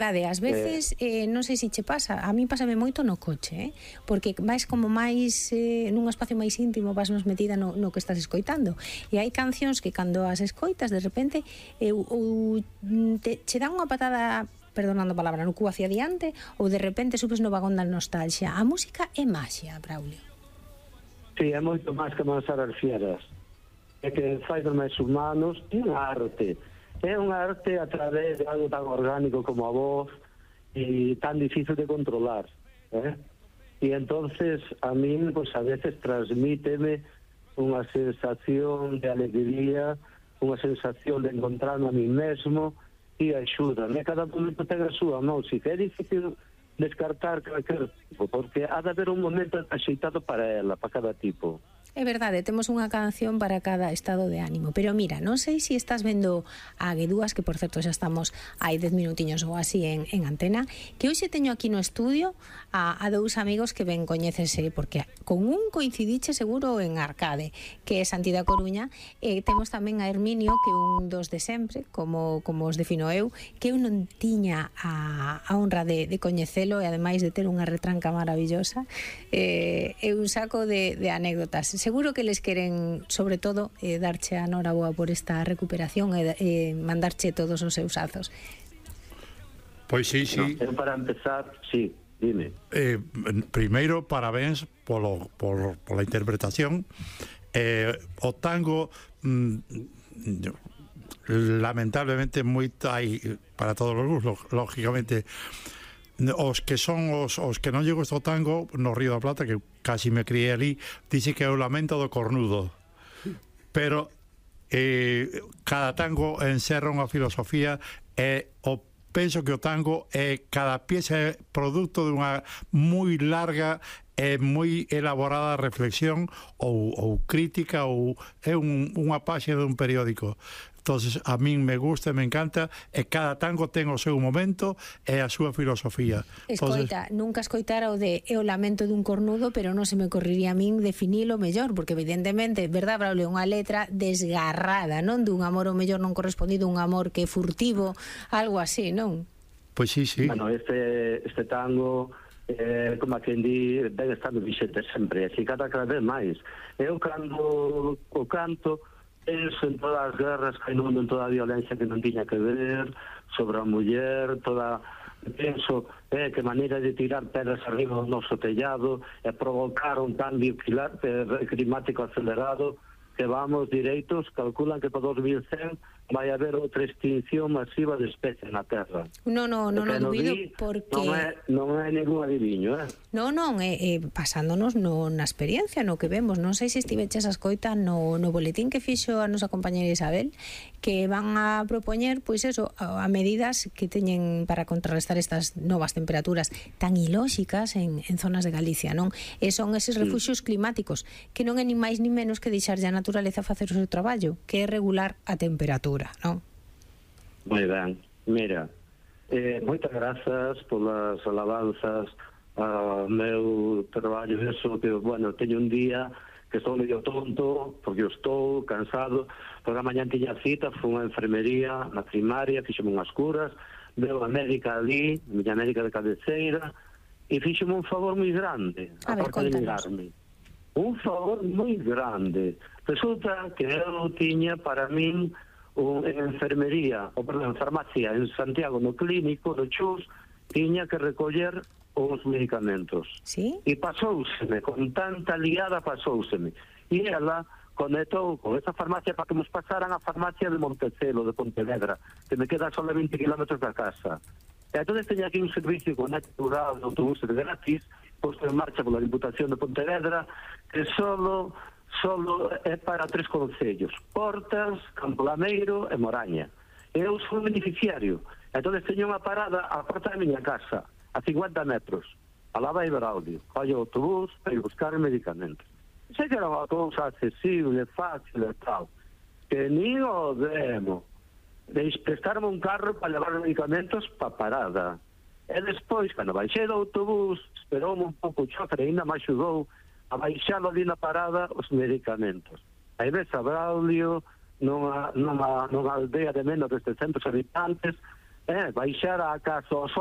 Verdade, ás veces, non sei se che pasa, a mí pásame moito no coche, porque vais como máis, nun espacio máis íntimo, vas máis metida no que estás escoitando, e hai cancións que cando as escoitas, de repente, che dan unha patada, perdonando a palabra, no cu hacia diante, ou de repente subes no vagón da nostalgia. A música é maxia, Braulio. Sí, é moito máis que amansar as fieras. É que fai dos máis humanos, é unha arte. É unha arte a través de algo tan orgánico como a voz e tan difícil de controlar, e entonces a min, pues, a veces transmíteme unha sensación de alegría, unha sensación de encontrarme a mí mesmo e axúdame. Cada momento ten a súa música. É difícil descartar calquer tipo, porque ha de haber un momento axeitado para ela, para cada tipo. É verdade, temos unha canción para cada estado de ánimo. Pero mira, non sei se estás vendo a Guedúas, que por certo xa estamos hai 10 minutiños ou así en antena, que hoxe teño aquí no estudio a dous amigos que ben coñécese, porque con un coincidiche seguro en Arcade, que é Santi da Coruña, e temos tamén a Herminio, que é un dos de sempre, como os defino eu, que eu non tiña a honra de coñecelo e ademais de ter unha retranca maravillosa, é un saco de anécdotas. Seguro que les queren, sobre todo, darche a noraboa por esta recuperación e mandarche todos os seus azos. Pois sí, sí. No, para empezar, sí, dime. Primeiro, parabéns pola interpretación. O tango, lamentablemente, moito hai para todos os gustos, lógicamente. Os que son os que non lle gusta o tango no Río da Plata, que casi me criei ali, dice que é o lamento do cornudo, pero cada tango encerra unha filosofía, e penso que o tango cada pieza é producto de unha moi larga e moi elaborada reflexión ou crítica, ou é unha páxina dun periódico. Entonces, a min me gusta e me encanta, e cada tango ten o seu momento e a súa filosofía. Escoita, nunca escoitara o de o lamento dun cornudo, pero non se me correría a min definilo mellor, porque evidentemente, verdad, Braulio, unha letra desgarrada, non dun amor o mellor non correspondido, un amor que é furtivo, algo así, non? Pois sí, sí. Bueno, este tango, como a quen di, ven estando vixente sempre, e cada vez máis. Eu cando o canto, penso en todas as guerras que hai no mundo, en toda a violencia que non tiña que ver sobre a muller, penso que maneira de tirar pedras arriba do noso tellado e provocar un cambio climático acelerado, que vamos direitos, calculan que para 2100 vai haber outra extinción masiva de especies na Terra. Non dubido, porque non é ningún adiviño, Non, pasándonos na experiencia, no que vemos. Non sei se estiveches a escoita no boletín que fixo a nosa compañera Isabel, que van a propoñer, pois eso, a medidas que teñen para contrarrestar estas novas temperaturas tan ilóxicas en zonas de Galicia, non? E son eses refuxios climáticos, que non é ni máis ni menos que deixarlle a naturaleza facer o seu traballo, que é regular a temperatura, non? Moi ben, mira, moitas grazas polas alabanzas ao meu traballo. Eso que, bueno, teño un día que estou medio tonto, porque eu estou cansado, porque a mañan tiña cita, fui unha enfermería na primaria, fixome unhas curas, veo a médica ali, a miña médica de cabeceira, e fixome un favor moi grande, aparte de mirarme. Un favor moi grande. Resulta que eu tiña para min en farmacia en Santiago, no clínico, no Chus, tiña que recoller os medicamentos. ¿Sí? E pasouseme, con tanta liada pasouseme. E ela conectou con esa farmacia para que nos pasaran a farmacia de Montecelo, de Pontevedra, que me queda só 20 kilómetros da casa. E entón teña aquí un servicio conecturado de autobuses gratis, posto en marcha pola Diputación de Pontevedra, que solo é para 3 concellos: Portas, Campolameiro e Moraña. Eu sou beneficiario. Entón teño unha parada á porta da miña casa, a 50 metros. Alá vai Braulio, vai o autobús para ir buscar medicamentos. Sei que era unha cousa accesible, fácil e tal, que ni o demo de prestarme un carro para levar medicamentos para parada. E despois, cando baixei do autobús, esperoume un pouco o chofer e ainda me axudou a baixalo ali na parada os medicamentos. Aí ves a Braulio nunha aldea de menos de 700 habitantes, baixar a casa aos